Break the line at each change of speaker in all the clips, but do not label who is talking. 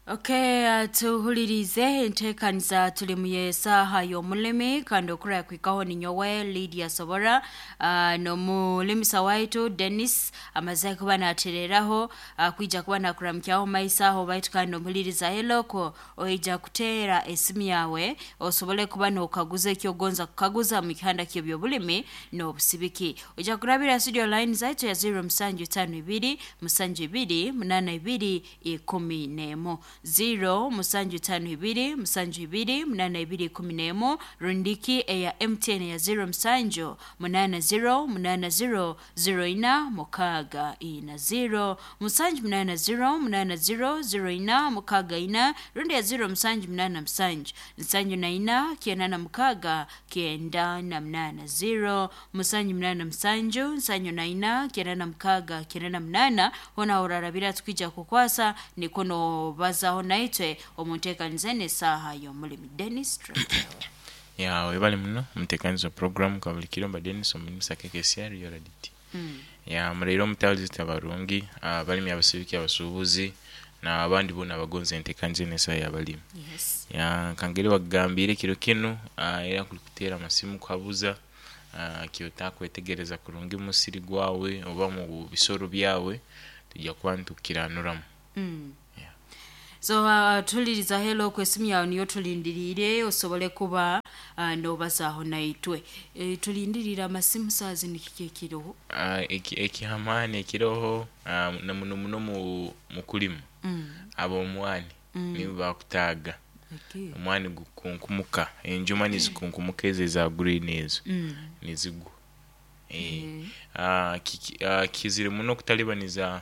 Okay, tuhulirize enteekaniza tuli mu y'esaaha y'omulimi kandi okura kwikaho ninyowe Lydia Sobora, n'omulimisa waitu Dennis amaze kuba natereraho, kwija kuba nakuramukyaho maiso aho. Baitu kandi nomuhuliriza heloko oija kuteera esimu yawe osobole kuba nokaguza ekyogonza kukaguza mu kihanda ky'ebyobulimi n'obusibiki. Oija kurabira studio line zaitu ya 0752 72 82 11, 0752 72 82 11, rundiki eya MTN ya 07 80 80 04 6 4, 0780 80 04 64, rundi ya 0787 74 96 98, 0787 74 96 98. Hona orarabira tukwija kukwasa niko nobazaho naitwe omu nteekaniza n'esaaha y'omulimi. Dennis Trent.
Ya, webale muno mutekaniza program kwa buli kiro. Mba Dennis omulimisa KKCR yoraditi. Ya, muleire omutawulizi abarungi, abalimi, abasibiki, abasuubuzi n'abandi boona abagonza enteekaniza eno esaaha y'abalimi.
Yes.
Ya, nkangeri bakugambire kiro kinu, era kuli kuteera amasimu kuhabuza kyotakwetegereza kurungi mu musiri gwawe oba mu bisoro byawe, tujja kuba nitukiranuramu. Yeah.
So tuliriza helo ku esimu yawe niyo tulindiriire osobole kuba nobazaho naitwe. Tulindirire amasimu saa zinu, kiki ekiriho?
Ekihamaani ekiroho, na muno muno mu kulima, ab'omwani nibo bakutaaga. Omwani gukunkumuka, enjuma nizikunkumuka, ezo eza green ezo nizigwa. Kizire muno okutalibaniza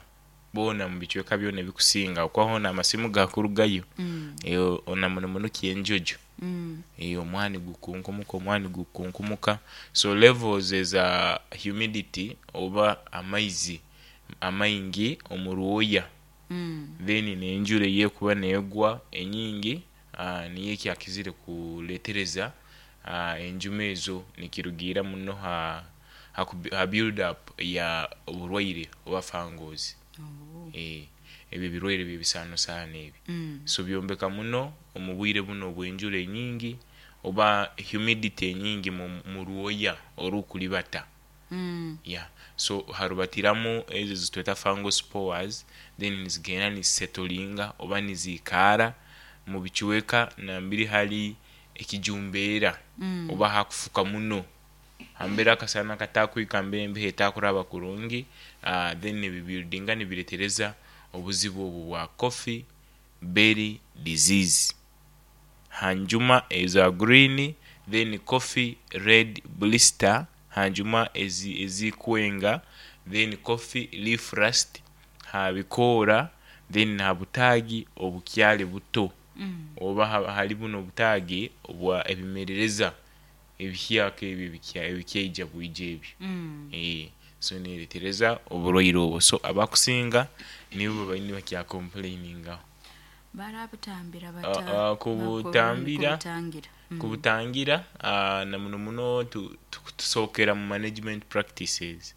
boona mu bicweka byona ebikusinga okuba hoona amasimu gakurugayo. Na muno muno kyenjojo. Omwani gukunkumuka, omwani gukunkumuka, so levels eza humidity oba amaizi amaingi omu rwoya, then n'enjura eyekuba negwa enyingi, niyo ekyakizire kuletereza enjuma ezo, nikirugiira muno ha build up ya oburwaire oba fangos. Ebyo ebirwaire by'ebisaanosaano ebi. So byombeka muno omu bwire bunu obw'enjura enyingi oba humidity enyingi mu rwoya orukulibata. Yeah. So harubatiramu ezo ezitweta fungal spores, then nizigenda nizisetolinga oba niziikaara mu bicweka nambere hali ekijumbeera oba hakufuka muno, hambere akasana katakwika, hambere embeho etakuraba kurungi, then nibibuildinga nibiretereza obuzibu obwo bwa coffee berry disease ha njuma eza green, then coffee red blister ha njuma ezikwenga, then coffee leaf rust ha bikoora, then ha butaagi obukyali buto oba hali bunu obutaagi obwa ebimerereza ebihyaka ebi ebikyaija bwija ebyo. So neretereza oburwaire obwo, so abakusinga nibo babaire nibakyakompuleiningaho.
Barabutambira bata?
Kubutambira,
Kubutangira.
Kubutangira, na muno muno tusookera mu management practices.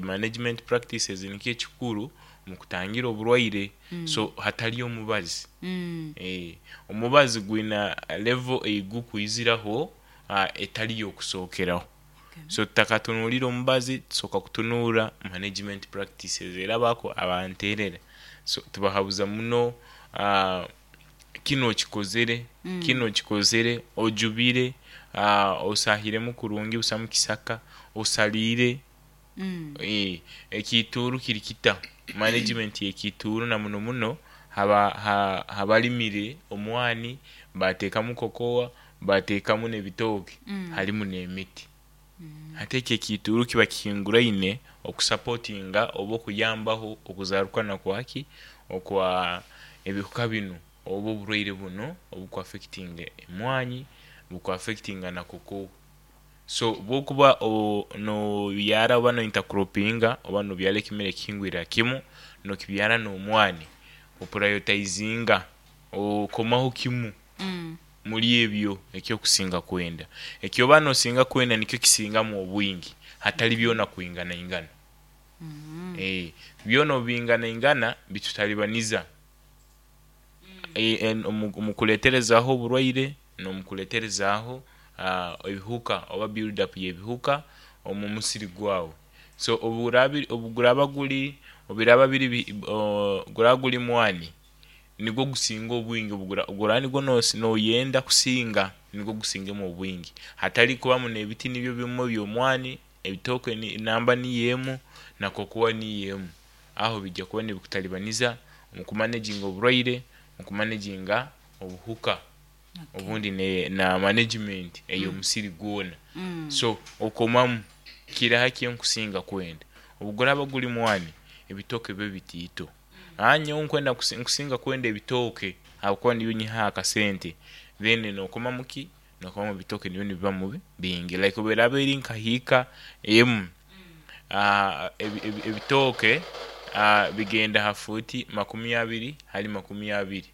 Management practices nikyo ekikuru mu kutangira oburwaire, so hatali omubazi. Omubazi gwina level eyigukwiziraho etali y'okusookeraho. So tutakatunulire omubazi, tusooka kutunuura management practices, era bako abanterera. So tubahabuza muno, kinu okikozere, kinu okikozere, ojubire, osahiremu kurungi busamu kisaka, osaliire, ekiituuru kiri kita, management y'ekiituuru, na muno muno habalimire omwani bateekamu kokoa, bateekamu n'ebitooke, harimu n'emiti. Hati ekyo ekiituuru kiba kihinguraine okusapotinga oba okuyambaho okuzarukana kwaki okwa ebihuka binu oba oburwaire bunu obukuaffectinga emwanyi, bukuaffectinga na kokoa. So bwokuba nobyara oba no intercropinga oba nobyara ekimera ekihingwire ha kimu nokibyara n'omwani, opurayotayizinga, okomaho kimu muri ebyo ekyokusinga kwenda. Ekyoba nosinga kwenda nikyo kisingamu obwingi hatali byona kwinganaingana. Byona obubinganaingana bitutalibaniza. Omu kuleeterezaho oburwaire n'omu kuleeterezaaho ebihuka oba build up y'ebihuka omu musiri gwawe. So obu guraaba guri, obiraba biri guraba guri mwani, nigwo gusinga obwingi. Obu guraba nigwo noyenda kusinga, nigwo gusingemu obwingi, hatali kubamu n'ebiti nibyo bimu eby'omwani, ebitooke namba niyo emu na kokoa niyo emu. Aho bijya kuba nibikutalibaniza omu kumanaginga oburwaire, omu kumanaginga obuhuka, obundi na management ey'omusiri gwoona. So okomamu kiraha kinkusinga kwenda. Obu guraaba guri mwani, ebitooke bibe bitiito. Nyowe nkusinga kwenda ebitooke habwokuba nibyo nyihaho akasente, then nokomamu ki, nokomamu ebitooke nibyo nibibamu bingi. Like obu eraaba eri nka hiika emu, ebitooke bigenda ha fuuti 20 hali 20,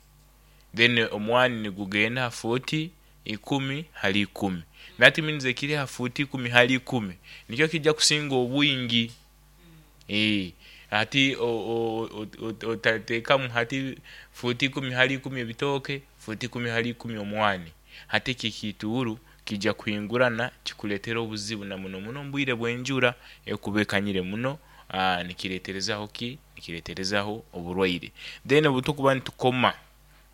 then omwani nigugenda ha fuuti 10 hali 10. That means ekiri ha fuuti 10 hali 10 nikyo kijya kusinga obwingi. Hati otateekamu hati fuuti 10 hali 10 ebitooke, fuuti 10 hali 10 omwani, hati eki ekiituuru kiija kuhingurana kikuleetere obuzibu na muno muno mubwire bw'enjura ekuba ekanyire muno, nikireeterezaho ki, nikireeterezaho oburwaire. Then obu tukuba nitukoma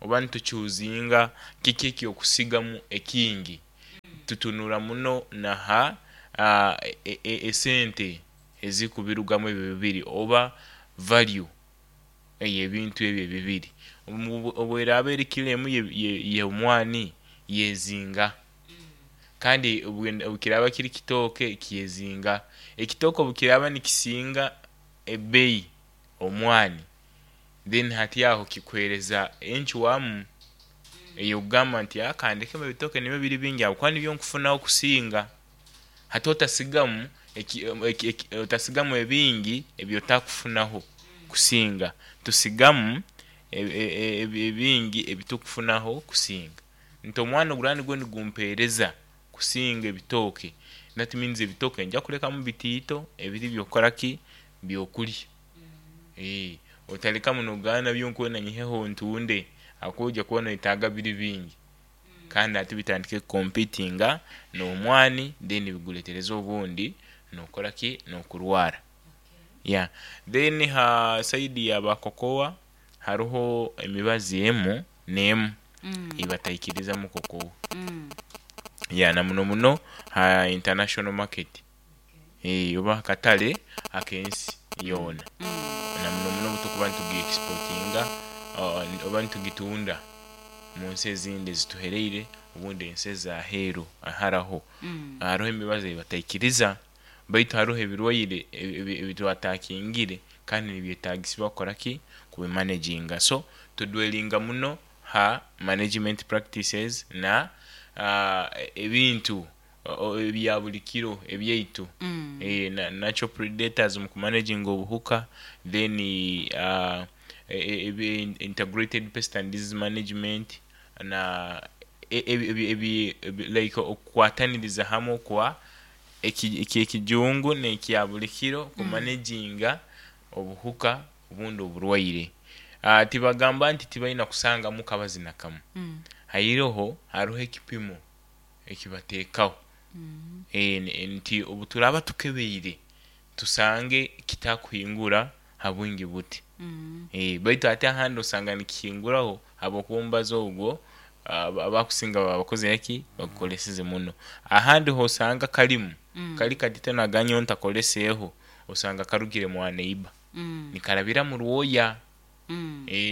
oba nituchuuzinga kiki ekyokusigamu ekingi, tutunura muno na ha esente ezikubirugamu ebi bibiri oba value ey'ebintu ebi ebibiri. Obu eraaba eri kilo emu y'omwani yeezinga, kandi obu kiraaba kiri kitooke kyezinga. Ekitooke obu kiraaba nikisinga ebbeyi omwani, then hati aho kikuheereza encwamu eyokugamba nti kandekemu ebitooke nibyo biri bingi habwokuba nibyo nkufunaho kusinga. Hati otasigamu otasigamu ebingi ebi otakufunaho kusinga, tusigamu ebingi ebitukufunaho kusinga. Nti omwani oguraba nigwo nigumpeereza kusinga ebitooke, that means ebitooke nyija kulekamu bitiito ebiri ebyokukora ki, byokurya. Otarekamu nogamba nabyo nkwenda nyiheho ntunde habwokuba oija kuba noyetaaga biri bingi, kandi hati bitandike kukompitinga n'omwani, then bigureetereze obundi nokora ki, nokurwaara. Yeah, then ha side ya ba kokoa haroho emibazi emu n'emu eyibataikirizamu kokoa, yeah, na muno muno ha international market oba hakatare ak'ensi yoona, na muno muno obutukuba nitugi exportinga oba nitugitunda munsi ezindi ezituhereire obundi ensi ez'aheeru haraho, haroho emibazi eyibataikiriza baitu haroho ebirwaire ebi twatakingire kandi nibyetaagisibwa kukora ki, kubimanaginga. So tudwellinga muno ha management practices na ebintu ebya buri kiro ebyaitu, natural predators mu kumanaginga obuhuka, then integrated pest and disease management na like okukwataniriza hamwe okwa ekyekijungu n'ekya buri kiro kumanaginga obuhuka obundi oburwaire. Tibagamba nti tibaina kusangamu kabazi na kamu, hairoho haroho ekipimo ekibateekaho nti obu turaaba tukebeire tusange kitakuhingura ha bwingi buti, baitu ate ahandi osanga nikihinguraho habwokuba omubazi ogwo abakusinga baba bakozire ki, bagukoleseze muno. Ahandi ho osanga karimu kari katito nagamba nyowe ntakoleseeho, osanga karugire mwa neighbour nikarabira mu rwoya,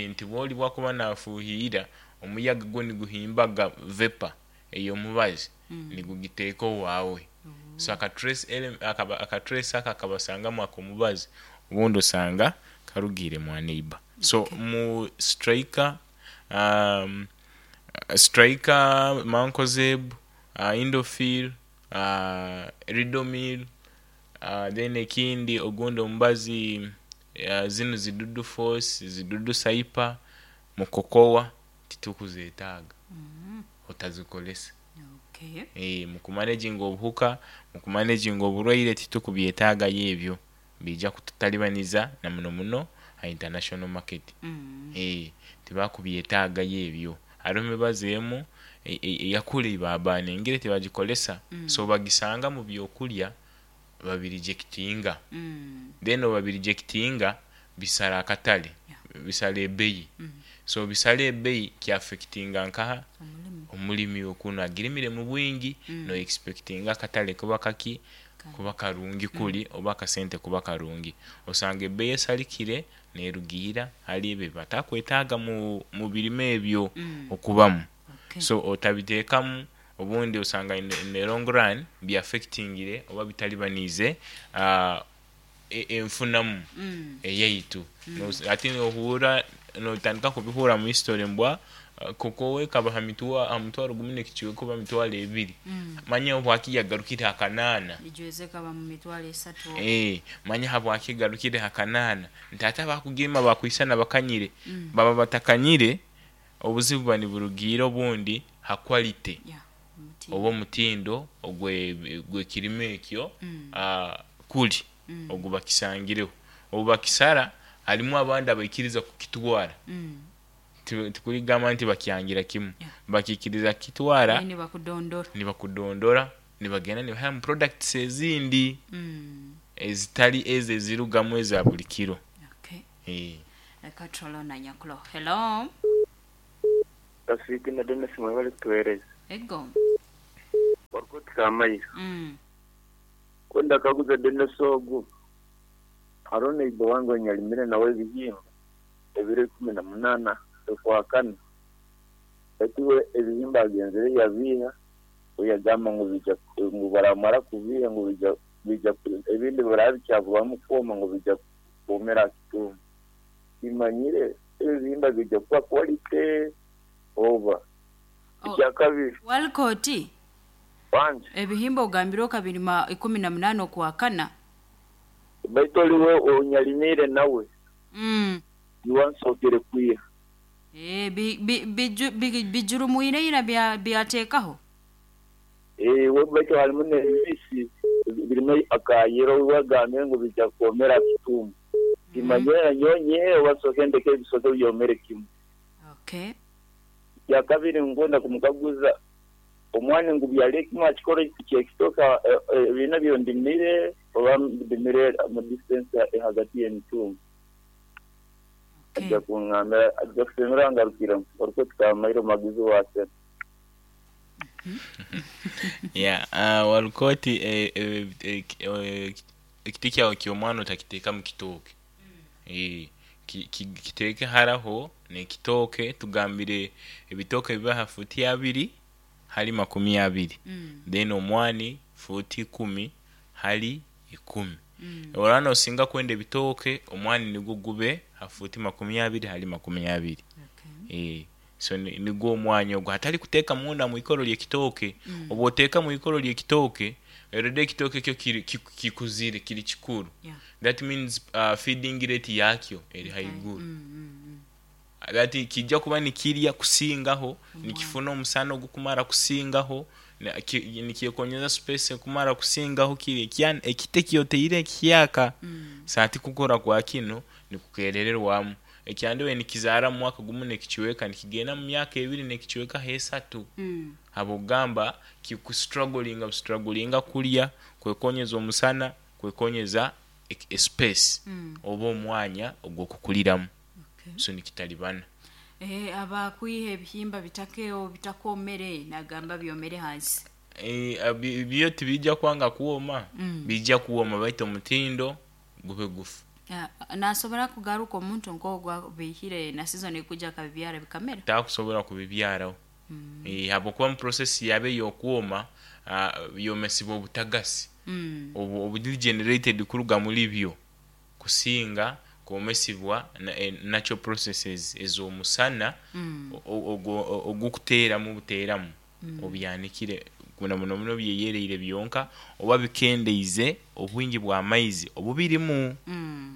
nti bwoli obu akuba nafuuhiira omuyaga gwo niguhimbaga vapour ey'omubazi nigugiteeka owaawe. So aka trace ako akabasangamu ak'omubazi obundi osanga karugiire mwa neighbour. So mu striker, mancozeb, indofil, ridomil, then ekindi ogundi omubazi zinu zi dudu force, zi dudu cyper, mu kokoa titukuzetaaga, otazikozesa. Mu kumanaginga obuhuka, mu kumanaginga oburwaire titukubyetaagayo ebyo, biija kututalibaniza na muno muno. Ha international market. Tibakubyetaagayo ebyo. Hariho emibazi emu eyakuli babaningire tibagikolesa, so bagisanga mu byokulya babirejectinga. Then obu babirejectinga bisara akatale, bisara ebbeyi. So bisara ebbeyi kyaffectinga nkaha? Omulimi okunu agirimire mu bwingi, no expectinga akatale kuba kaki? Kuba karungi kuli oba akasente kuba karungi. Osanga ebbeyi esalikire nerugiira hali ebyo ebibatakwetaaga mu birime ebyo okubamu. So otabiteekamu obundi osanga in the long run byaffectingire oba bitalibaniize enfunamu eyaitu. Hati nohuura notandika kubihurra mu history mbwa cocoa ekaba ha mutwaro gumu n'ekicweka oba mitwaro ebiri, manya habwaki yagarukire ha kanaana?
Ijweze ekaba mu 30,000.
Manya habwaki egarukire ha kanaana? Nti ate abakugirima bakwisana bakanyire, baba batakanyire, obuzibu buba niburugiira obundi ha quality oba omutindo ogw'ekirime ekyo kuli ogu bakisangireho. Obu bakisara harimu abandi abaikiriza kukitwara, tikuli kugamba nti bakyangira kimu, bakiikiriza kukitwara
nibakudondora,
nibakudondora nibagenda nibaihamu products ezindi ezitali ezi ezirugamu eza buli kiro.
Reka turole na nyakuloho. Hello.
Rafiki na Dennis, mwebale kutuheereza.
Ego.
Warikoti Kamaira. Kwenda kaguza Dennis ogu, hariho neighbor wange onyarimire nawe ebihimba ebiro 18 okwakana, baitu we ebihimba agenzere yabiiha, we yagamba ngu bija ngu baramara kubiiha ngu bija ebindi biraba bikyaburamu kwoma ngu bija kwomera aha kitumba. Timanyire ebihimba bija kuba quality oba. Ekyakabiri.
Walcott.
Wanje.
Ebihimba ogambire okabirima 18 okwakana.
Baitu oliwe onyarimire nawe. Niwansookere kwiha.
Bijurumwire ira byateekaho.
We baitu harimu n'ebibisi birimu akayero, wagambire ngu bija kwomera aha kitumba. Timanyire nanyowe nyihe oba nsooke ndeke ebisooke byomere kimu. Ekyakabiri, nkwenda kumukaguza omwani ngu byale kimu aha kikoro kyekitooke ebiina byo ndimire oba ndimire mu distance hagati y'emitumba. Ajja kungambira, ajja kusemera ngarukiremu. Orikoti Kamaire omuhagizi wa Arsenal.
Yeah, Walcott, ekiti kyawe ky'omwana otakiteeka mu kitooke. Kiteeke haraho n'ekitooke, tugambire ebitooke bibe ha fuuti 20 hali 20, then omwani fuuti 10 hali 10. Oraba nosinga kwenda ebitooke, omwani nigwo gube ha fuuti 20 hali 20. So nigwo omwanya ogu, hatari kuteeka munda mwikoro ly'ekitooke. Obu oteeka mwikoro ly'ekitooke, already ekitooke kyo kikuzire, kiri kikuru. That means feeding rate yakyo eri haiguru. That kijja kuba nikirya kusingaho, nikifuna omusana ogukumara kusingaho, nikyekonyeza space ekumara kusingaho kiri ekiti ekyoteire ekihyaka. So hati kukura kwa kinu nikukerererwamu. Ekyandibaire nikizaara mu mwaka gumu n'ekicweka nikigenda mu myaka ebiri n'ekicweka h'esatu. Habw'okugamba kikustrugglinga bustrugglinga kurya, kwekonyeza omusana, kwekonyeza space oba omwanya ogw'okukuliramu. So nikitalibana.
Abakwiha ebihimba bitakeo bitakomere nagamba byomere hansi.
Byo tibijja kwanga kwoma, bijja kwoma baitu omutindo gube gufu.
Nasobora kugaruka omuntu nk'ogwo abihire na season ekuija akabibyara bikamera?
Takusobora kubibyaraho. Habwokuba mu process yabyo ey'okwoma byomesibwa obutagasi oburi generated kuruga muri byo kusinga kwomesibwa natural processes ez'omusana ogukuteeramu buteeramu obyanikire muno muno muno byeyereire byonka oba bikendeize obwingi bw'amaizi obubirimu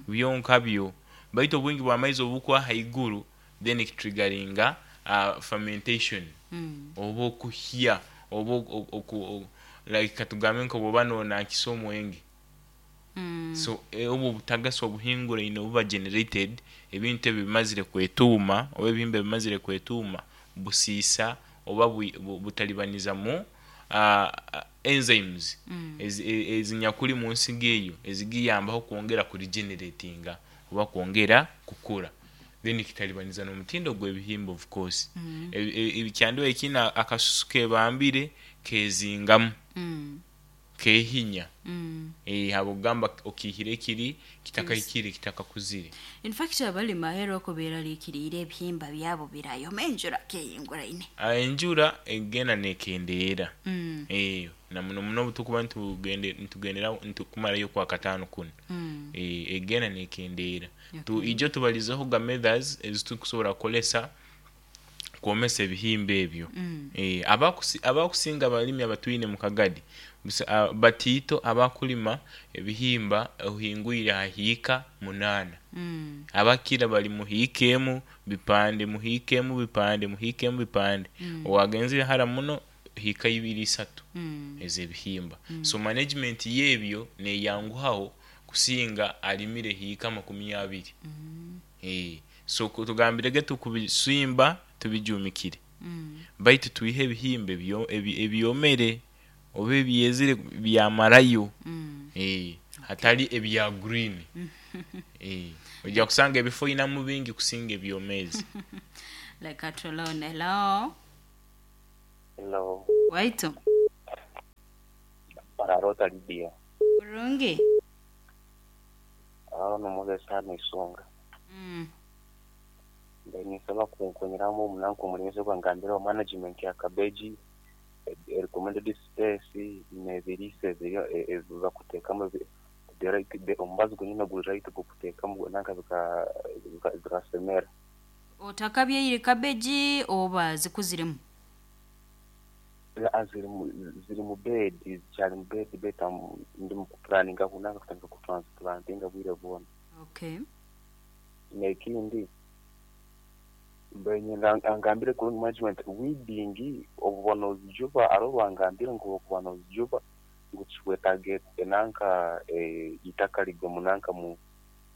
byonka byo, baitu obwingi bw'amaizi obu bukuba haiguru then kitriggeringa fermentation oba okuhya oba like katugambe nk'obwoba nonankisa omwenge. So obu obutagasi obuhinguraine obuba generated, ebintu ebi bimazire kwetuuma oba ebihimba bimazire kwetuuma, busiisa oba butalibaniza mu enzymes ezinyakuli mu nsigo eyo ezigiyambaho kwongera kuregeneratinga oba kwongera kukura, then kitalibaniza n'omutindo gw'ebihimba. Of course kyandiba kiine akasusu kebambire kezingamu, kehinya, habwokugamba okiihire kiri kitakahikire, kitakakuzire.
In fact, abalimi aheeru oko beeraliikiriire ebihimba byabo birayoma enjura kehinguraine.
Enjura egenda nekendeera, na muno muno obu tukuba nitugendera nitukumarayo okwakataano kunu, egenda nekendeera. Ijo tubalizeho ga methods ezitukusobora kukozesa kwomesa ebihimba ebyo. Abakusinga abalimi abatwine mu Kagadi batiito abakulima ebihimba ohingwire ha hiika 8. Abakira bali mu hiika emu bipande, mu hiika emu bipande, mu hiika emu bipande, owagenzere hara muno hiika ibiri isatu ez'ebihimba. So management y'ebyo neyanguhaho kusinga alimire hiika 20. So tugambirege tukubisimba tubijumikire, baitu twihe ebihimba ebyomere oba ebyezire byamarayo, hatali ebya green. Ojja kusanga ebifo oinamu bingi kusinga ebyomeezi.
Leka tulone. Hello.
Hello.
Waitu.
Orarota Lydia.
Kurungi.
Aho nomugesa hano Isonga. Mbe ninsaba kunkonyeramu omunanka omulimisi ogwangambiraho management ya cabbage, recommended space n'ebiriisa ebi bakuteekamu, the right omubazi gwonyini guri right gw'okuteekamu nanka bikasemera.
Otakabyaire cabbage oba zikuziremu?
Ziri mu bed, zikyali mu bed baitu ndi mu kupulaninga nanka kutandika kutransplantinga bwire bwona.
Okay.
N'ekindi, mbaire niinyenda angambire kurungi management weeding obu oba noozijuba, hariho obu angambire ngu obu okuba noozijuba ngu tikikwetaaga nanka itaka ligwe nanka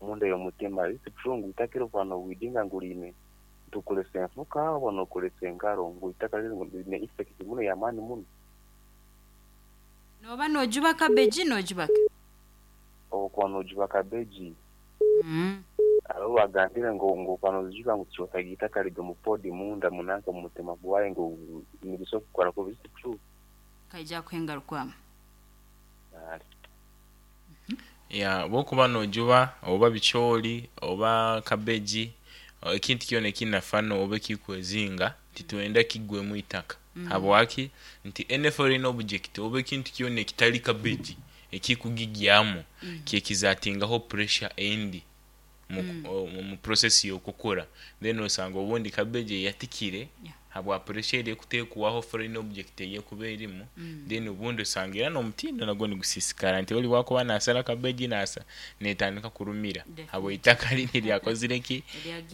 munda y'omutima. Is it true ngu itaka eri obu okuba noweedinga ngu riine nti okozesa enfuka oba nookozesa engaro ngu itaka rinu riine effect muno y'amaani muno?
Nooba noojuba cabbage noojuba ki?
Obu okuba noojuba cabbage, hariho obu agambire ngu okuba noozijuba ngu tikyetaaga itaka ligwe mu pod munda nanka mu mutima gwayo ngu nibisobora kukukora kubi. Is it true?
Kaija kuhengarukwamu.
Ya, obu okuba noojuba oba bicoori oba cabbage, ekintu kyona ekiine fano oba ekikwezinga titwenda kigwemu itaka. Habwaki? Nti any foreign object oba ekintu kyona ekitali cabbage ekikugigyamu kyekizatingaho pressure endi mu process y'okukura, then osanga obundi cabbage eyatikire habwa pressure eri ekutekwaho foreign object eyekuba erimu, then obundi osanga era n'omutindo nagwo nigusiisikara nti ori obu akuba naasara cabbage netandika kurumira habw'itaka riri eryakozire ki?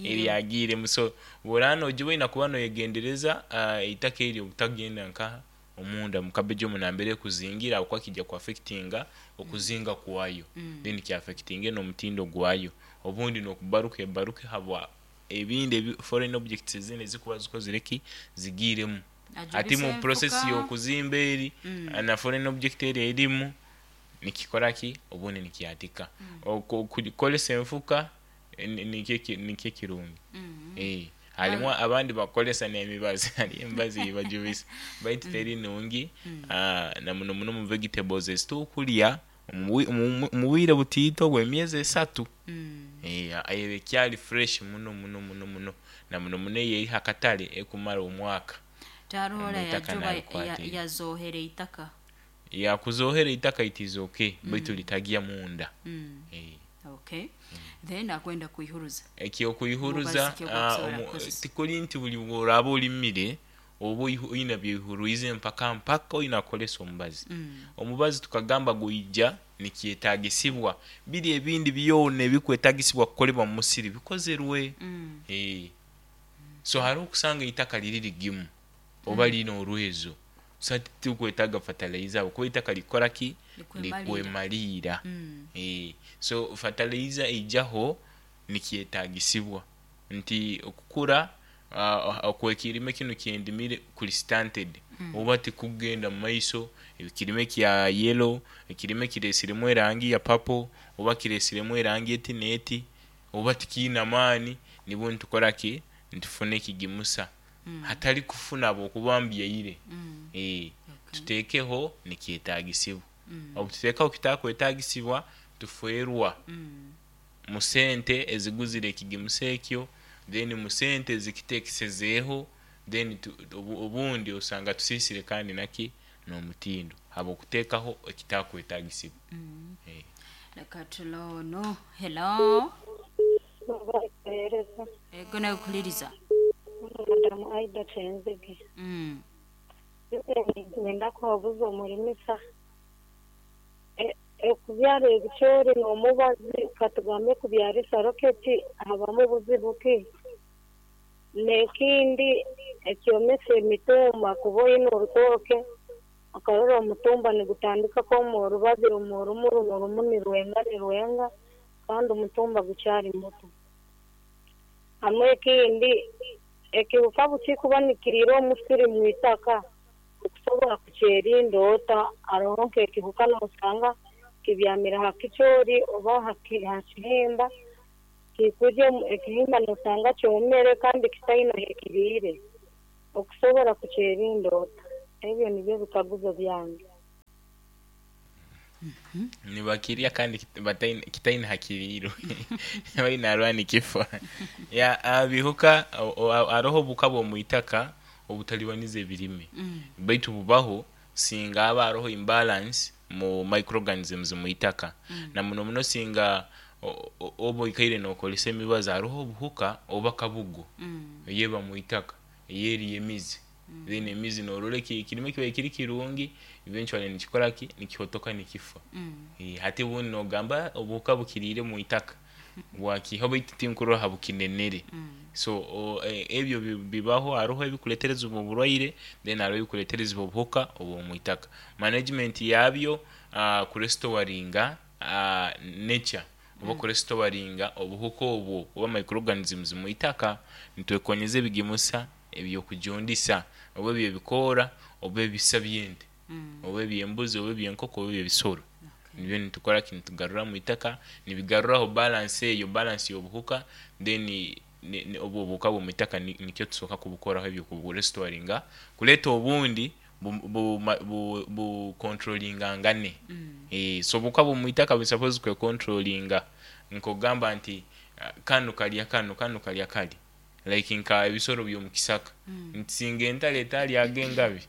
Eryagiiremu. So obu oraaba noogiba oine kuba noyegendereza eitaka eryo obutagenda nkaha? Omunda mu cabbage omu nambere ekuzingira habwokuba kiija ku affectinga okuzinga kwayo, then ki affectinge n'omutindo gwayo. Obundi n'okubaruka ebaruke habwa ebindi ebi foreign objects ezindi ezikuba zikozire ki? Zigiiremu. Hati
Ajubisa
mu process
enfuka.
y'okuzimba eri na foreign object eri erimu nikikora ki? Obundi nikyatika. Kukozesa enfuka nikyo kirungi. Harimu abandi bakukozesa n'emibazi, hariyo emibazi ei bajubisa baitu teri nungi, na muno muno omu vegetables ezi tukurya omu bwire butiito obw'emyezi 3. Eba ekyari fresh muno muno muno muno na muno muno eyo eri ha katare ekumara omwaka.
Tiharoho ora
Omwitaka
yajuba
nabikwatire.
Yazohera eitaka.
Ya, kuzohera eitaka it is okay baitu litagya munda.
Okay. Then akwenda kwihuruza.
Eky'okwihuruza
Mubazi ki ogw'okusobora kukozesa?
Tikuri nti buri bw'oraaba orimire oba oine byoihurwize mpaka mpaka oine kukoresa omubazi. Omubazi tukagamba gwija nikyetaagisibwa biri ebindi byona ebikwetaagisibwa kukolebwa mu musiri bikozerwe. So hariho okusanga eitaka riri rigimu oba riine orwezo, so hati titukwetaaga fertilizer ahabw'okuba eitaka rikukora ki? Likwemaliira. So fertilizer eijaho nikyetagisibwa nti okukura okwekirime kinu kyendimire kuli stunted oba tikugenda mumaiso, ekirime kya yellow, ekirime kiresiremu erangi ya papo oba kiresiremu erangi eti neeti oba tikiina maani, nibwo nitukoraki nitufuna ekigimusa hatali kufuna habwokuba mbyaire. Tutekeho nikyetagisibwa, obututeekaho ekitakwetagisibwa tufeerwa mu sente eziguzire ekigimusa ekyo, then mu sente ezikiteekesezeeho, then obundi osanga tusiisire kandi naki n'omutindo habw'okuteekaho ekitakwetagisibwa.
Leka turole onu. Hello.
Bakuheereza.
Ego nakuhuliriza.
Madamu Aida Kyenzige. Niinyenda kuhabuza omurimisa okubyara ebicoori n'omubazi katugambe kubyarisa roketi habamu buzibu ki? N'ekindi ekyomesa emitumba kuba oine orutooke okarora omutumba nigutandika kwoma orubabi rumu rumu rumu rumu nirwenga nirwenga kandi omutumba gukyali muto. Hamu ekindi ekihuka bukikuba nikiriira omusiri mwitaka okusobora kukyerinda ota? Haroho nk'ekihuka noosanga kibyamire ha kicoori oba ha kihimba kikurya ekihimba noosanga kyomere kandi kitaine hekiriire, okusobora kukyerinda ota? Ebyo nibyo bikaguzo byange.
Nibakirya kandi kitaine hakiriirwe baine harwa nikifa. Bihuka haroho obuhuka bw'omwitaka obutalibaniza ebirime baitu bubaho singa haba haroho imbalance mu microorganisms mwitaka, na muno muno singa oba oikaire nookozesa emibazi haroho obuhuka oba kabugo eyeba mwitaka eyerya emizi, then emizi norora ekirime kibaire kiri kirungi eventually nikikoraki nikihotoka nikifa. Hati obundi nogamba obuhuka bukiriire mwitaka bwakiihaho baitu tinkurora habukinenere. So ebyo bibaho haroho ebikuleterezibwa oburwaire then haroho ebikuleterezibwa obuhuka obw'omwitaka. Management yabyo kurestoringa nature oba kurestoringa obuhuka obwo oba microorganisms mwitaka, nitwekonyeza ebigimusa eby'okujundisa oba eby'ebikoora oba ebisa by'ente oba eby'embuzi oba eby'enkoko oba eby'ebisoro. Nibyo nitukoraki nitugarura mwitaka nibigaruraho balance eyo, balance y'obuhuka then obu obuhuka bw'omwitaka nikyo tusoka kubukoraho ebyo kuburestoringa kureeta obundi bukontrolingangane. So obuhuka bw'omwitaka bu suppose kwekontrolinga nk'okugamba nti kanu karya kanu, kanu karya kari like nka ebisoro by'omukisaka nti singa entare etaryaga engabi,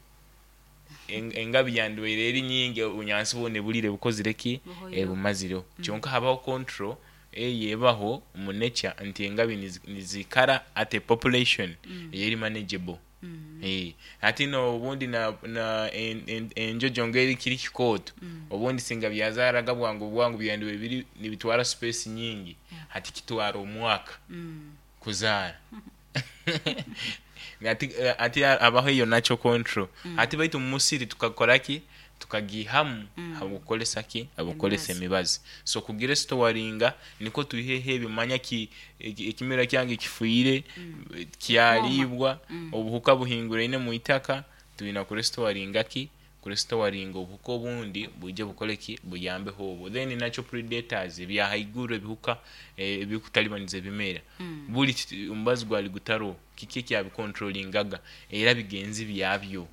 engabi yandibaire eri nyingi obunyansi bwona eburiire bukozire ki? Ebumazireho. Kyonka habaho control eyo ebaho mu nature nti engabi nizikara at a population eyeri manageable. Hati n'obundi enjojo ngeri kiri kikooto, obundi singa byazaaraga bwangu bwangu byandibaire biri nibitwara space nyingi, hati kitwara omwaka kuzaara. Hati habaho eyo natural control. Hati baitu mu musiri tukakoraki? Tukagiihamu habw'okukozesa ki? Habw'okukozesa emibazi. So kugirestoringa nikwo twiheho ebyo manya ekimera kyange kifiire, kyariibwa, obuhuka buhinguraine mwitaka, twina kurestoringa ki? Kurestoringa obuhuka obundi bwije bukore ki? Buyambeho obwo. Then natural predators ebya haiguru ebihuka ebikutalibaniza ebimera, buri omubazi gwali gutaroho, kiki ekyabikontrolingaga? Era bigenzi byabyo,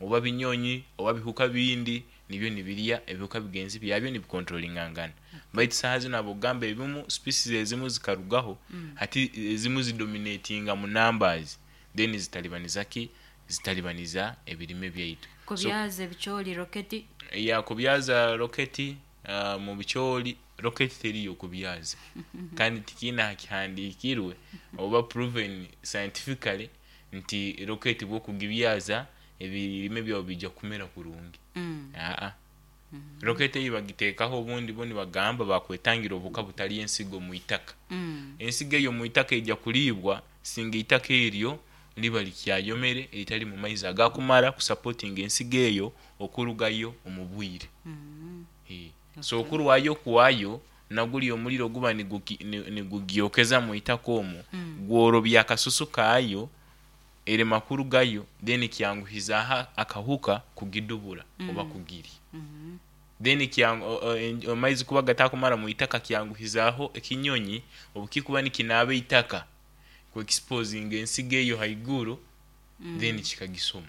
oba binyonyi oba bihuka bindi nibyo nibirya ebihuka bigenzi byabyo nibikontrolingangana. Baitu saaha zinu habw'okugamba ebimu species ezimu zikarugaho, hati ezimu zidominatinga mu numbers then zitalibaniza ki? Zitalibaniza ebirime byaitu.
Kubyaza ebicoori roketi.
Ya kubyaza roketi mu bicoori, roketi teriyo kubyaza kandi tikiine ahakihandiikirwe oba proven scientifically nti roketi bw'okugibyaza ebirime byawe biija kumera kurungi. Aa. Roketi ei bagiteekaho obundi bo nibagamba bakwetangira obuhuka butarya ensigo mwitaka. Ensigo eyo mwitaka eija kuriibwa singa eitaka eryo riba rikyayomere ritarimu maizi agakumara kusapotinga ensigo eyo okurugayo omu bwire. So okurwayo okwayo naguli omuliro guba nigugyokeza mu itaka omwo, gworobya akasusu kaayo erema kurugayo, then kyanguhizaho akahuka kugidubura oba kugirya. Then amaizi kuba gatakumara mu itaka kyanguhizaho ekinyonyi obukikuba nikinaaba itaka kwexposinga ensigo eyo haiguru, then kikagisoma.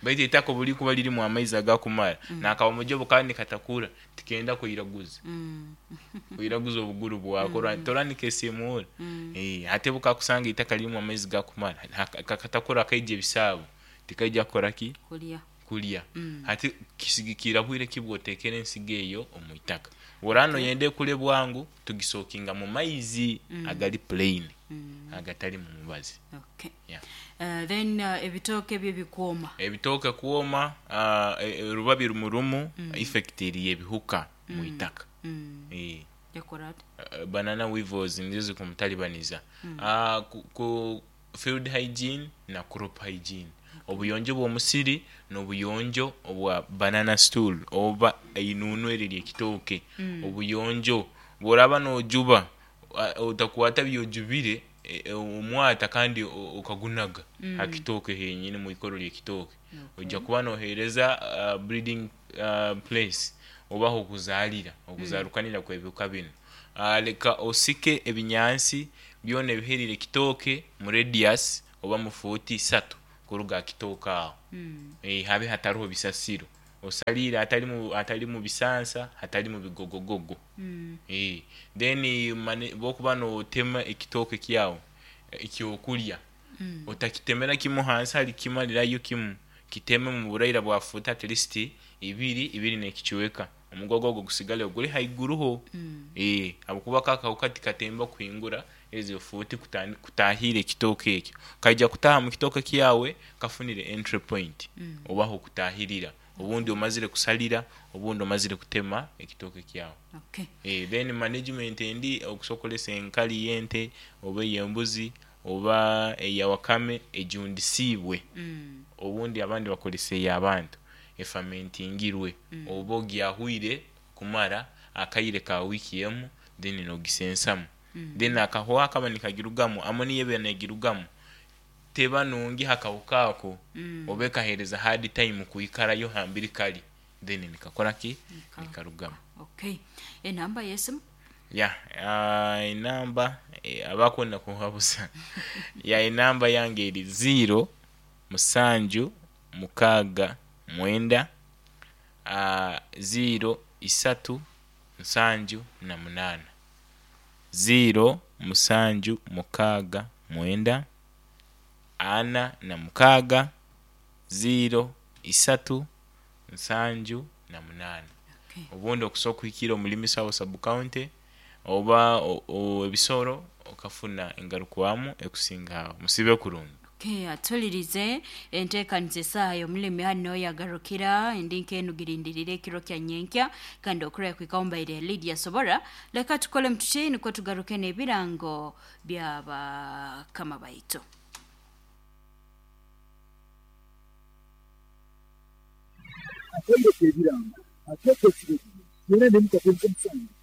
Baitu itaka obulikuba lirimu amaizi agakumara nakabamoja kandi nikatakura tikenda kwiraguza kwiraguza obuguru bwako, tora nikesimura. Hati bukakusanga itaka lirimu amaizi gakumara kakatakura kaija ebisaabo tikaija kukora ki?
Kulya.
Kulya. Hati kisigikira bwire ki bwotekera ensigo eyo omu itaka. Orano yende ekule bwangu, tugisokinga mu maizi agali plain, agatali mu mubazi.
Okay.
Yeah.
Then ebitooke byo bikwoma.
Ebitooke kwoma, rubabi rumurumu effect eri ebihuka mu itaka.
Yakora ati?
Banana weevils nizo zikumutalibaniza. Ku field hygiene na crop hygiene. Obuyonjo bw'omusiri n'obuyonjo obwa banana stool oba einunu eri ery'ekitooke. Obuyonjo bworaba nojuba, otakwata byojubire omwata kandi okagunaga ha kitooke henyini mwikoro ly'ekitooke. Ojja kuba nohereza breeding place oba hokuzaalira, okuzarukanira kw'ebihuka binu. Leka osike ebinyansi byona ebiherire ekitooke mu radius oba mu fuuti 3 kuruga ha kitooke aho. Habe hataroho bisasiro, osalire hatali mu bisansa, hatali mu bigogogogo. Then bwokuba notema ekitooke kyawe ekyokurya, otakitemera kimu hansi hali kimalirayo kimu, kiteme mu buraira bwa fuuti at least ibiri, ibiri n'ekicweka, omugogo ogwo gusigale guri haiguruho. Habwokuba ako akahuka tikatemba kuhingura ezo fuuti kutahira ekitooke ekyo. Kaija kutaha mu kitooke kyawe kafunire entry point oba ahokutahirira, obundi omazire kusalira, obundi omazire kutema ekitooke kyawe.
Okay.
Then management endi, okusokolesa enkali y'ente oba ey'embuzi oba eya wakame ejundisiibwe, obundi abandi bakozesa ey'abantu efamentingirwe, oba ogyahwire kumara akaire ka wiiki emu, then nogisensamu. Then akahooho akaba nikagirugamu, amoniya eba negirugamu teba nungi hakahuka ako, oba ekahereza hard time kwikarayo hambiri kali, then nikakora ki? Nikarugamu.
Okay. Enamba y'esimu?
Ya, enamba abakwenda kunhabuza, ya enamba yange eri 0 7 6 9 0 3 7 8 0 7 6 9 4 6 0 3 7 8.
Okay.
Obundi okusobola kuhikira omulimisa wa sub county oba ebisoro okafuna engarukwamu ekusinga aho. Musibe kurungi.
Okay, atulirize enteekaniza esaaha y'omulimi hano yagarukira endi nkenugirindirire ekiro kya nyenkya kandi okuraya kwikaho mbaire Lydia Sobora. Leka tukole mututi nukwo tugaruke n'ebirango by'abakama baitu.
Akaire k'ebirango akeekesire byona n'emikago nk'omusango.